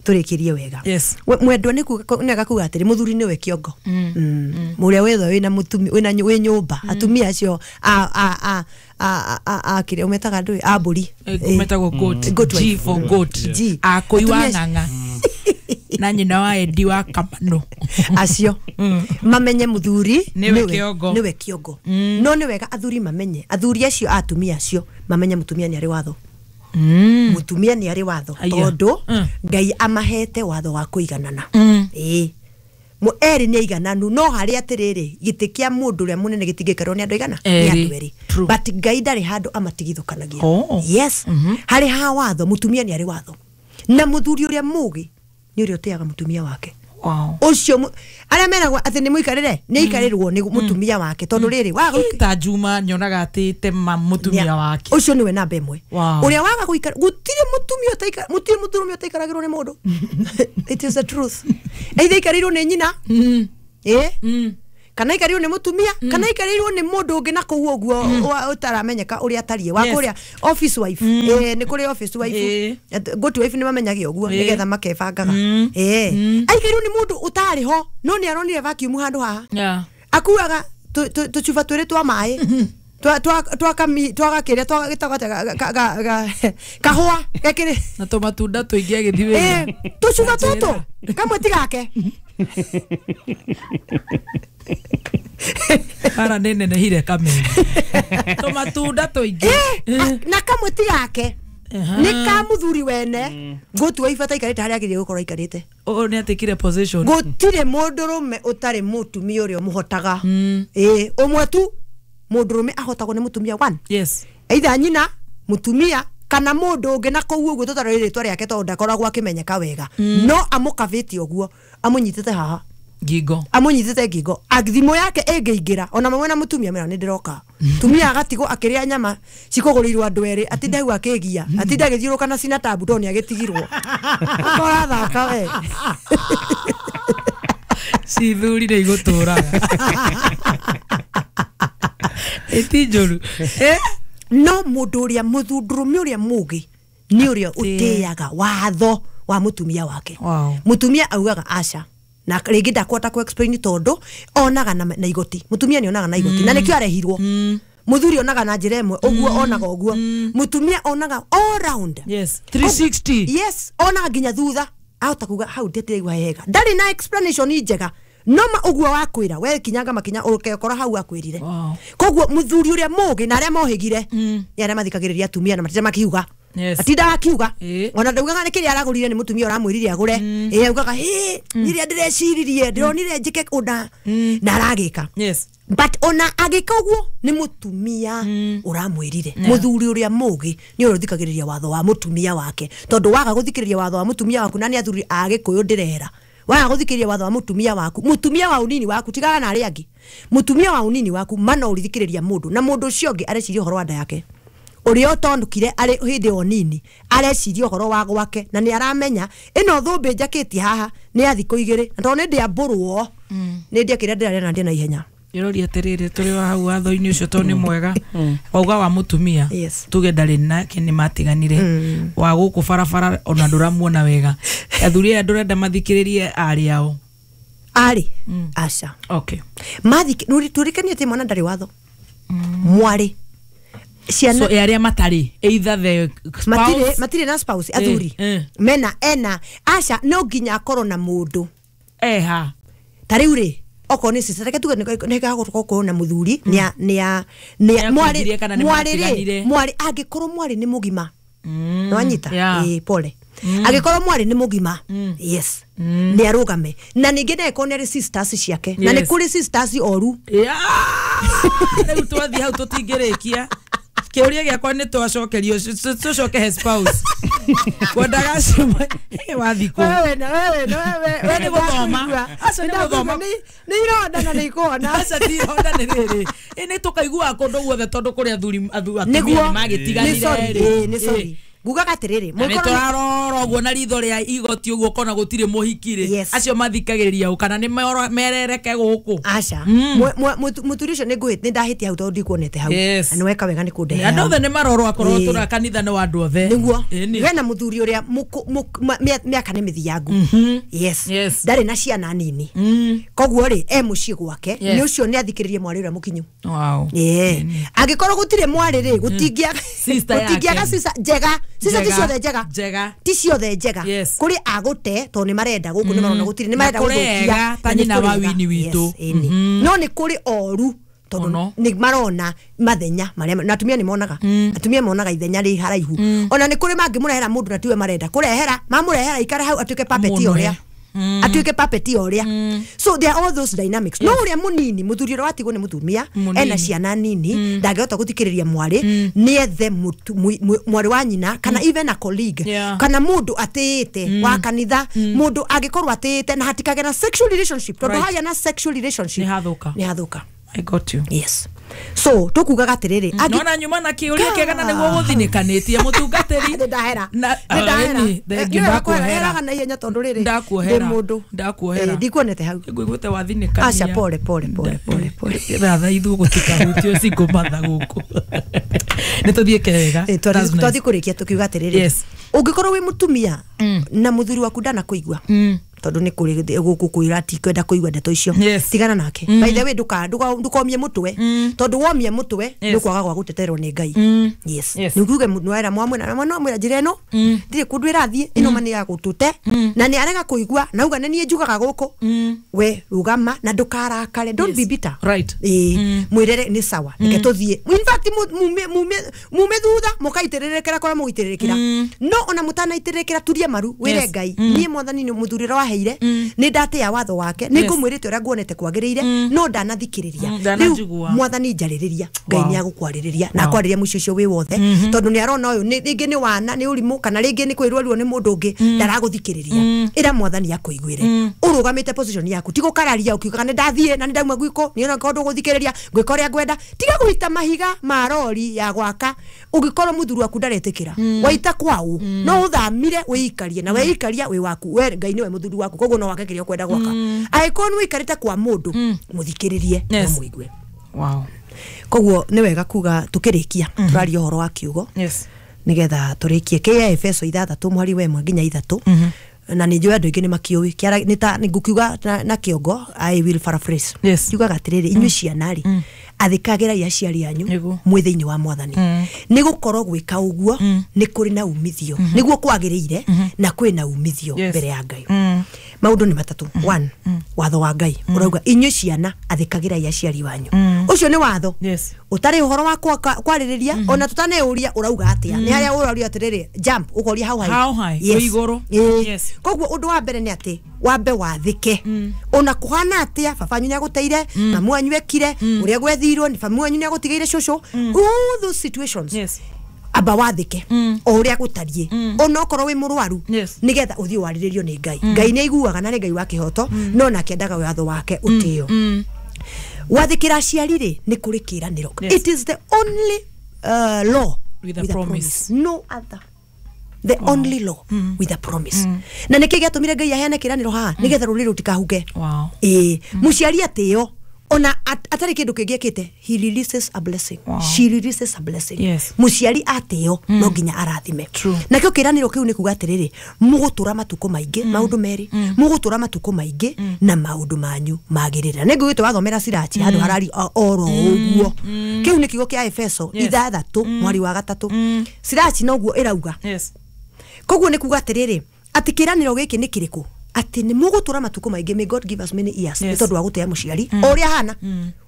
tũrĩkĩrie wega. Yes. Mwendwa nĩ kuga atĩrĩ mũthuri nĩwe kĩongo. Mũrĩa wetha wĩna mũtumia wĩna wĩ nyũmba atumia acio a kĩrĩa ũmetaga ndũĩ a mbũri. Metagwo goat. Goat G wife. for goat. G. Akũi wa Atumia ng'ang'a. Na nyina wa Eddie wa Kamano. Acio mamenye mũthuri Nĩwe kĩongo. nĩwe kĩongo. No nĩ wega athuri mamenye, athuri acio atumia acio mamenye mũtumia nĩ arĩ watho. Mũtumia nĩ arĩ watho tondũ Ngai amahete watho wa kũiganana. Ĩĩ. Erĩ nĩ aigananu no harĩ atĩrĩrĩ gĩtĩ kĩa mũndũ ũrĩa mũnene gĩtingĩikarwo nĩ andũ aigana? Nĩ andũ erĩ. But Ngai ndarĩ handũ amatigithũkanagia. Yes. Harĩ ha watho mũtumia nĩ arĩ watho. Na mũthuri ũrĩa mũũgĩ nĩ ũrĩa ũtĩaga mũtumia wake. Wow. Ũcio arĩa meragwo atĩ nĩ mũikarĩre nĩ aikarĩrwo nĩ mũtumia wake tondũ rĩrĩ waga ta Juma nyonaga atĩte mũtumia wake. Ũcio nĩwe namba ĩmwe. Wow. Ũrĩa waga gũikara gũtirĩ mũtumia ũtaikara mũtirĩ mũtumia ũtaikaragĩrwo nĩ mũndũ. It is the truth. Either aikarĩirwo nĩ nyina. Kana aikarĩirwo nĩ mũtumia, kana aikarĩirwo nĩ mũndũ ũngĩ na kũu ũguo ũtaramenyeka ũrĩa atariĩ wa kũrĩa office wife. Nĩ kũrĩ office wife. Go to wife nĩ mamenyage ũguo nĩgetha makebangaga. Aikarĩirwo nĩ mũndũ ũtarĩ ho no nĩ aronire vacuum handũ haha. Akuaga tũcuba twĩrĩ twa maĩ twagakĩrĩa twagĩtagwo kahũa gekĩrĩ na tũmatunda tũingĩ agĩthiĩ wĩra. Tũcuba tũtũ kamwe ti gake. Bara nĩ nenehire kameni. Tũmatunda tũingĩ. Na kamwe ti gake. Nĩ ka mũthuri wene ngũtua ibata aikarĩte harĩa agĩrĩire gũkorwo aikarĩte. Ũũ nĩ atekire position. Gũtirĩ mũndũrũme ũtarĩ mũtumia ũrĩa ũmũhotaga. Ũmwe tu mũndũrũme ahotagwo nĩ mũtumia one. Yes. Either nyina mũtumia kana mũndũ ũngĩ na kũu ũguo tũtarĩ rĩtwa rĩake tondũ ndakoragwo akĩmenyeka wega. No amũkavĩte ũguo amũnyitĩte haha. Ngingo. Amũnyitĩte ngingo. Thimũ yake ĩngĩingĩra ona mamwe na mũtumia mera nĩ ndĩroka. Tumia agatigwo akĩrĩa nyama cikũgũrĩirwo andũ erĩ atinda hau akĩgia atinda agĩthiũrũka na cina tabu tondũ nĩ agĩtigirwo. Ũrathaka we. Cithurire igũtũraga. Ĩti njũru. No mũndũ ũrĩa mũthundũrũme ũrĩa mũgĩ nĩ ũrĩa ũtĩaga watho wa mũtumia wake. Wow. Mũtumia augaga aca na rĩngĩ ndakwata ku explain tondũ onaga na igoti. Mũtumia nĩ onaga na igoti na nĩkĩo arehirwo. Mũthuri onaga na njĩra ĩmwe ũguo onaga ũguo. Mũtumia onaga all round. Yes. 360. Yes, onaga nginya thutha. Ahota kuga hau ndĩraigua wega. Ndarĩ na explanation njega. No ma ũguo wakwĩra we kinyanga makinya ũkekora hau akwĩrire. Wow. Koguo mũthuri ũrĩa mũgĩ na arĩa mohĩgire nĩ arĩa mathikagĩrĩria atumia na matinda makiuga. Yes. Atinda akiuga. Ona ndaugaga nĩ kĩrĩa aragũrire nĩ mũtumia ũramwĩrire agũre. Augaga rĩrĩa ndĩreciririe ndĩronire njĩke ũna na aragĩka. Yes. But ona agĩka ũguo nĩ mũtumia ũramwĩrire. Mũthuri ũrĩa mũgĩ nĩ ũrĩa ũthikagĩrĩria watho wa mũtumia wake. Tondũ waga gũthikĩrĩria watho wa mũtumia waku na nĩ athuri a Gĩkũyũ ndĩrera. Waga gũthikĩrĩria watho wa mũtumia waku, mũtumia wa ũnini waku tigaga na arĩa angĩ. Mũtumia wa ũnini waku mana ũrithikĩrĩria mũndũ na mũndũ ũcio ũngĩ areciria ũhoro wa nda yake. Ũrĩa ũtonũkire arĩ hĩndĩ o nini areciria ũhoro wa gwake na nĩ aramenya ĩno thũmbĩ njakĩtie haha nĩ ya thikũ igĩrĩ na tondũ nĩ ndĩambũrwo nĩ ndĩa kĩrĩa ndĩrarĩa na ndĩe na ihenya. Ndĩroria atĩrĩrĩ tũrĩ wa hau watho-inĩ ũcio tondũ nĩ mwega wauga wa mũtumia. Yes. Tuge ndarĩ nake nĩ matiganire wa gũkũ barabara ona ndũramuona wega athuri aya ndũrenda mathikĩrĩrie arĩ ao arĩ aca. Okay. Tũrikanie atĩ mwana ndarĩ watho. Mwarĩ ciana so arĩa matarĩ either the spouse matirĩ na spouse athuri mena ena aca no nginya akorwo na mũndũ eha ta rĩu rĩ okorwo nĩ sister reke tuge nĩ gagũkorwo na mũthuri nĩ mwarĩ mwarĩ mwarĩ angĩkorwo mwarĩ nĩ mũgima nĩwanyita pole angĩkorwo mwarĩ nĩ mũgima yes nĩ arũgame na ningĩ nĩakorwo nĩ arĩ sisters ciake na nĩ kũrĩ sisters oru. Rĩu twathiĩ hau tũtingĩrĩkia kĩũria gĩakwa nĩ twacokerio tũcoke he spouse kwendaga wathiĩ kũ we nĩ gũthoma acio nĩ gũthoma nĩ ironda na nĩ ikuona aca ti ironda nĩ rĩrĩ nĩ tũkaiguaga kũndũ guothe tondũ kũrĩ athuri atumia nĩ magĩtiganire nĩ sorry ngugaga atĩrĩrĩ nĩ tũrarora ũguo na ritho rĩa igoti ũguo ũkona gũtirĩ mũhiki rĩ acio mathikagĩrĩria ũ kana nĩ merereke gũkũ aca mũthuri ũcio nĩ ndahĩtia hau tondũ ndikuonete hau na nĩ weka wega nĩ kũndehe andũ othe nĩ marorwo akorwo tũra kanitha nĩ wa andũ othe nĩguo hena mũthuri ũrĩa mĩaka nĩ mĩthiangu. Yes. Ndarĩ na ciana nini koguo rĩ e mũciĩ gwake nĩ ũcio nĩ athikĩrĩrie mwarĩ ũrĩa mũkinyu. Angĩkorwo gũtirĩ mwarĩ rĩ gũtingĩaga sister njega. Sisa ti ciothe njega. Ti ciothe njega. Kũrĩ agũte tondũ nĩ marenda gũkũ nĩ marona gũtirĩ nĩ marenda gũthũkia ta nyina wa wini witũ. No nĩ kũrĩ oru tondũ nĩ marona mathenya marĩa na atumia nĩ monaga. Atumia monaga ithenya rĩ haraihu. Ona nĩ kũrĩ mangĩmũrehera mũndũ na tiwe marenda kũrehera mamũrehera ikare hau atuĩke puppet ũrĩa. Atuĩke puppet ũrĩa. So there are all those dynamics. No ũrĩa mũnini mũthuri ũrĩa watigwo nĩ mũtumia ena ciana nini ndangĩhota gũthikĩrĩria mwarĩ nĩ ethe mwarĩ wa nyina kana even a colleague kana mũndũ atĩĩte wa kanitha mũndũ angĩkorwo atĩĩte na hatikagĩa na sexual relationship tondũ hagĩa na sexual relationship nĩ hathũka. I got you. Yes. So tukugaga atiriri nona nyuma na kiuria kiega na niguo guthinĩkanĩtie mũtungatĩri ndahera ndahera na ihenya tondu riri ndakuohera ndakuohera ndikuonete hau ngũiguĩte wathinĩkania aca pole pole pole pole pole ratha ithuĩ gũtikahutio cingũmatha gũkũ nĩ tũthiĩ kega twathiĩ kũrĩkia tũkiuga atĩrĩrĩ ũngĩkorwo wĩ mũtumia na mũthuri waku ndanakuigua tondu ni kuri guku kwira ti kwenda kuigua ndeto icio tigana nake by the way ndukomie mutwe tondu womie mutwe ni kwaga gwa guteterwo ni Ngai yes ni kuge nwera mwamwe na mwana mwira njira ino ndire kundu irathie ino mani ya gutute na ni arega kuigua na uga ni njugaga guku we rugama na ndukarakare don't be bitter right mwirere ni sawa reke tuthie in fact mume thutha mukaitirirekera kora muitirirekera no ona mutanaitirirekera turie maru wire Ngai ni mwathani ni muthurira wa heire ni ndatia watho wake ni ngumwirite uria nguonete kwagiriire no ndanathikiriria riu mwathani njaririria Ngai ni agukwaririria na akwariria mucio ucio wi wothe tondu ni arona uyu ringi ni wana ni urimu kana ringi ni kwirwo ruo ni mundu ungi ndaraguthikiriria ira mwathani akuiguire urugamite position yaku ti gukararia ukiuga ni ndathie na ni ndauma gwiko ni ona ko nduguthikiriria ngwika uria ngwenda tiga guita mahiga ma rori ya gwaka ungikorwo muthuri waku ndaretikira waita kwau no uthamire wiikarie na weikaria wi waku we Ngai niwe muthuri waku koguo no wake kĩrĩa ũkwenda gwaka. Angĩkorwo nĩ wĩikarĩte kwa mũndũ, mũthikĩrĩrie na mũigue. Wow. Koguo nĩ wega kuga tukĩrĩkia tũraria ũhoro wa kiugo. Yes. Nigetha tũrĩkie kĩa Efeso 6 mweri wa 1 nginya 3. Na nĩ njũĩ andũ aingĩ nĩ makĩũĩ kĩara nĩ ta ngũkiuga na kĩongo I will paraphrase. Yes. Kiugaga atĩrĩrĩ, inyuĩ ciana rĩ, athĩkagĩrai aciari anyu mwĩ thĩinĩ wa mwathani, nĩ gũkorwo gwĩka ũguo nĩ kũrĩ na umithio, nĩguo kwagĩrĩire na kwĩ na umithio mbere ya Ngai. Maũndũ nĩ matatũ. 1, watho wa Ngai ũrauga inyuĩ ciana athĩkagĩrai aciari wanyu. Ũcio nĩ watho. Yes. Ũtarĩ ũhoro wa kwarĩrĩria ona tũtaneuria ũrauga atĩa. Nĩ harĩa ũrauria atĩrĩrĩ, jump ũkoria how high. How high? Yes. Igũrũ. Yes. Koguo ũndũ wa mbere nĩ atĩ wambe wathĩke. Ona kũhana atĩa baba wanyu nĩagũteire, mamu wanyu ekire, ũrĩa gwethirwo ni mamu wanyu nĩagũtigĩire cũcũ. All those situations. Yes. Amba wathĩke o ũrĩa gũtariĩ, ona okorwo wĩ mũrwaru, Yes. nĩgetha ũthiĩ warĩrĩrio nĩ Ngai. Ngai nĩ aiguaga na nĩ Ngai wa kĩhoto, no nake endaga watho wake ũtĩo. Wathĩkĩra aciari rĩ, nĩ kũrĩ kĩĩranĩro. Yes. It is the only law with a promise. No other. The only law with a promise. Na nĩkĩ gĩatũmire Ngai aheane kĩĩranĩro haha? Nĩgetha rũrĩrĩ rũtikahuke. Wow. Ĩĩ, mũciari atĩo ona atarĩ kĩndũ kĩngĩ ekĩte, he releases a blessing. Wow. She releases a blessing. Yes. Mũciari atĩo no nginya arathime. True. Nakĩo kĩĩranĩro kĩu nĩ kuga atĩrĩrĩ, mũgũtũra matukũ maingĩ, maũndũ merĩ, mũgũtũra matukũ maingĩ na maũndũ manyu magĩrĩre. Nĩ ngũgĩte wathomera Sirachi handũ harari oro ũguo. Kĩu nĩ kiugo kĩa Efeso Yes. 6 mweri wa 3. Sirachi noguo ĩrauga. Yes. Koguo nĩ kuga atĩrĩrĩ, atĩ kĩĩranĩro gĩkĩ nĩ kĩrĩkũ? Atĩ nĩ mũgũtũra matukũ maingĩ, may God give us many years, Yes. nĩ tondũ wa gũtĩa mũciari o ũrĩa ahana,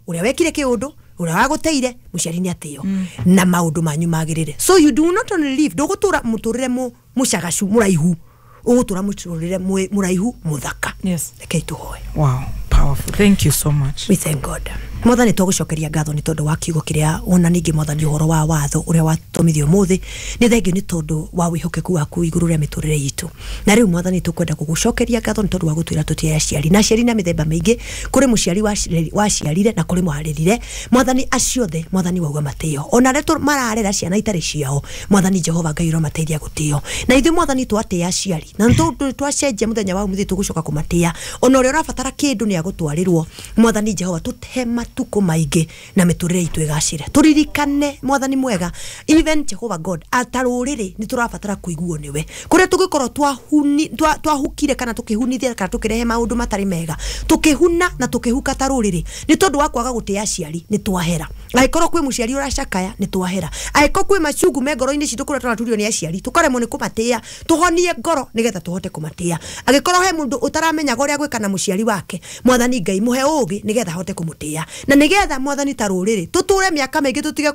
ũrĩa wekire kĩũndũ, ũrĩa wagũteire, mũciari nĩ atĩo na maũndũ manyu magĩrĩre. So you do not only live, ndũgũtũra mũtũrĩre mũcagacu mũraihu, ũgũtũra mũtũrĩre mũraihu mũthaka. Yes. Rekei tũhoe. Wow, powerful. Thank you so much. We thank God. Mwathani tũgũcokeria ngatho nĩ tondũ wa kiugo kĩrĩa wona, ningĩ mwathani ũhoro wa watho ũrĩa watũmithio ũmũthĩ. Nĩ thengio nĩ tondũ wa wĩhokeku waku igũrũ rĩa mĩtũrĩre itũ. Na rĩu mwathani tũkwenda gũgũcokeria ngatho nĩ tondũ wa gũtwĩra tũtĩe aciari, na aciari na mĩthemba mĩingĩ, kũrĩ mũciari waciarire na kũrĩ mwarĩrire. Mwathani acio othe mwathani wauga matĩo, ona arĩa mararera ciana itarĩ ciao, mwathani Jehova Ngai ũromateithia gũtĩo. Na ithuĩ mwathani twatĩa aciari na nĩ twacenjia mũthenya wa ũmũthĩ tũgũcoka kũmatĩa, ona ũrĩa ũrabatara kĩndũ nĩ agũtwarĩrwo. Mwathani Jehova tũte matukũ maingĩ na mĩtũrĩre itũ ĩgacĩre. Tũririkane mwathani mwega, even Jehova God, ata rũrĩrĩ nĩ tũrabatara kũiguo nĩwe. Kũrĩa tũngĩkorwo twahukire kana tũkĩhunithia kana tũkĩrehe maũndũ matarĩ mega, tũkĩhuna na tũkĩhuka ta rũrĩrĩ nĩ tondũ wa kwaga gũtĩa aciari, nĩ twahera. Angĩkorwo kwĩ mũciari ũracakaya, nĩ twahera. Angĩkorwo kwĩ macungu me ngoro-inĩ citũ kũrĩa tũraturio nĩ aciari, tũkaremwo nĩ kũmatĩa, tũhonie ngoro nĩgetha tũhote kũmatĩa. Angĩkorwo he mũndũ ũtaramenyaga ũrĩa gwĩka na mũciari wake, mwathani Ngai mũhe ũũgĩ nĩgetha ahote kũmũtĩa, na nĩgetha mwathani ta rũrĩrĩ tũtũre mĩaka mĩingĩ, tũtige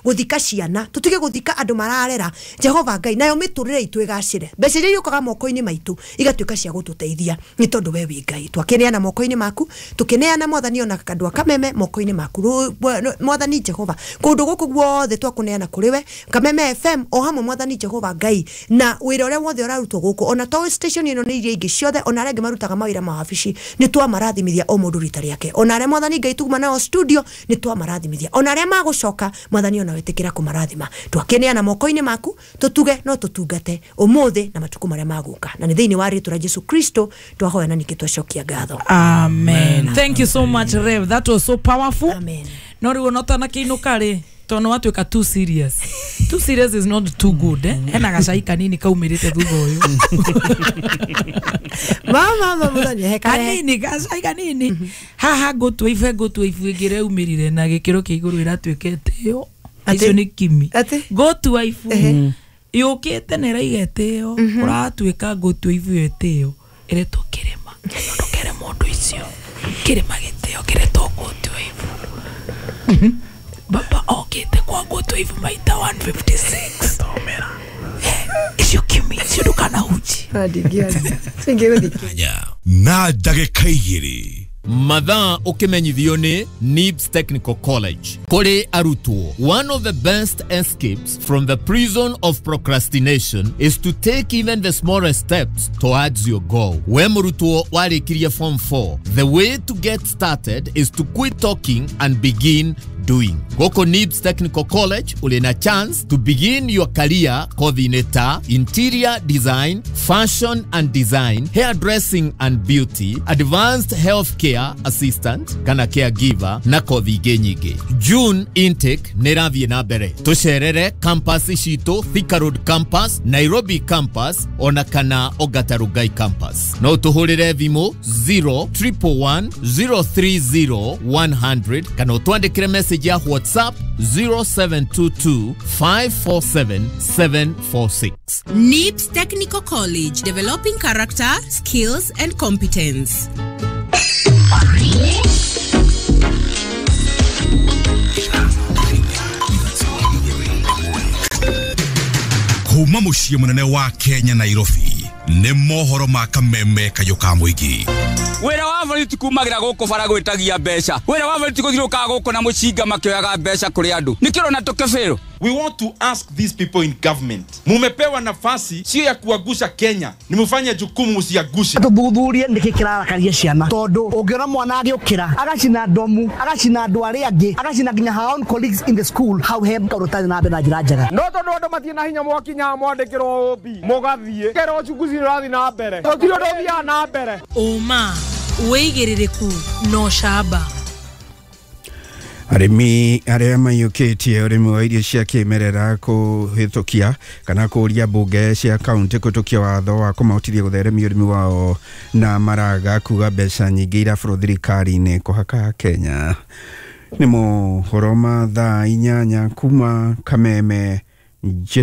gũthika ciana, tũtige gũthika andũ mararera. Jehova Ngai, nayo mĩtũrĩre itũ ĩgacĩre, mbeca iria iũkaga moko-inĩ maitũ igatuĩka cia gũtũteithia, nĩ tondũ we wĩ Ngai. Twakĩneana moko-inĩ maku, tũkĩneana mwathani ona kandũ a Kameme moko-inĩ maku. Mwathani Jehova, kũndũ gũkũ guothe twakũneana kũrĩ we, Kameme FM o hamwe mwathani Jehova Ngai, na wĩra ũrĩa wothe ũrarutwo gũkũ, ona to station ĩno nĩ iria ingĩ ciothe, ona arĩa angĩ marutaga mawĩra ma wabici, nĩ twamarathimithia o mũndũ rita rĩake. Ona arĩa mwathani Ngai tuguma nao studio, nĩ twamarathimithia. Ona arĩa magũcoka mwathani ona wĩtĩkĩra kũmarathima. Twakĩneana moko-inĩ maku, tũtuge no tũtungate ũmũthĩ na matukũ marĩa magũka, na nĩ thĩinĩ wa rĩtwa rĩa Jesu Kristo twahoya na ningĩ twacokia ngatho. Amen. Thank you so much, Rev. That was so powerful. Amen. No rĩu ona ũtanakĩinũka rĩ, tondũ watuĩka too serious. Too serious is not too good, eh? Hena gacai kanini kaumĩrĩte thutha ũyũ. Mama mwathani he kanini, gacai kanini. Haha ngũtua ibu, ngũtua ibu ĩngĩ ĩraumĩrire na gĩkĩro kĩa igũrũ ĩratuĩka ĩtĩo. Icio nĩ kimi. Ngũtua ibu yũkĩte na ĩraiga ĩtĩo, ũratuĩka ngũtua ibu ĩyo ĩtĩo, ĩretwo kĩrĩma. Ndũkere mũndũ icio. Kĩrĩma gĩtĩo kĩretwo ngũtua ibu. Baba okĩte kwa ngũtua ibu maita 156. Icio kimi, icio ndũkanahunjie. Na ndagĩka igĩrĩ. Mathaa ũkĩmenyithio nĩ NIBS Technical College. Kũrĩ arutwo, one of the best escapes from the prison of procrastination is to take even the smallest steps towards your goal. We mũrutwo warĩkirie form 4, the way to get started is to quit talking and begin doing. Gũkũ NIBS Technical College ũrĩ na chance to begin your career kothi-inĩ ta interior design, fashion and design, hairdressing and beauty, advanced healthcare assistant kana caregiver na kothi ingĩ nyingĩ. June intake nĩ ĩrathiĩ na mbere. Tũcerere campus citũ Thika Road campus, Nairobi campus ona kana Ongata Rongai campus. No tũhũrĩre thimũ 0111 030 100 kana ũtwandĩkĩre message ya WhatsApp 0722 547 746. NIBS Technical College, developing character, skills, and competence. Kuma muciĩ mũnene wa Kenya Nairobi nĩ mohoro ma kameme kayũ ka mũingĩ. Wĩra wa borithi kumagira gũkũ bara gwĩtagia mbeca. Wĩra wa borithi gũthiũrũrũkaga gũkũ na mũcinga makĩoyaga mbeca kũrĩ andũ. Nĩkĩo ũrona tũkĩbĩrwo. We want to ask these people in government. Mumepewa nafasi sio ya kuagusha Kenya, ni mufanye jukumu musiagushe. Tuthuthurie niki kirarakaria ciana tondu ungiona mwana agiukira agacina ndomu agacina andu aria angi agacina nginya her own colleagues in the school hau he kaundu tari na mbere na njira njega. No tondu andu matirĩ na hinya mwakinya mwandĩkĩrwo OB mũgathiĩ kero uchunguzi nĩ ũrathiĩ na mbere gũtirĩ ũndũ ũthiaga na mbere. Ũma wĩigĩrĩrĩku na ũcamba. Arĩmi arĩa maiyũkĩtie ũrĩmi wa irio cia kĩmerera kũhĩtũkia kana kũria mbunge cia kaunti kũhĩtũkia watho wa kũmahotithia gũtheremia ũrĩmi wao na maraga kuga mbeca nyingĩ iraborwo thirikari-inĩ kũhaka Kenya. Nĩ mohoro ma thaa 8 kuma Kameme.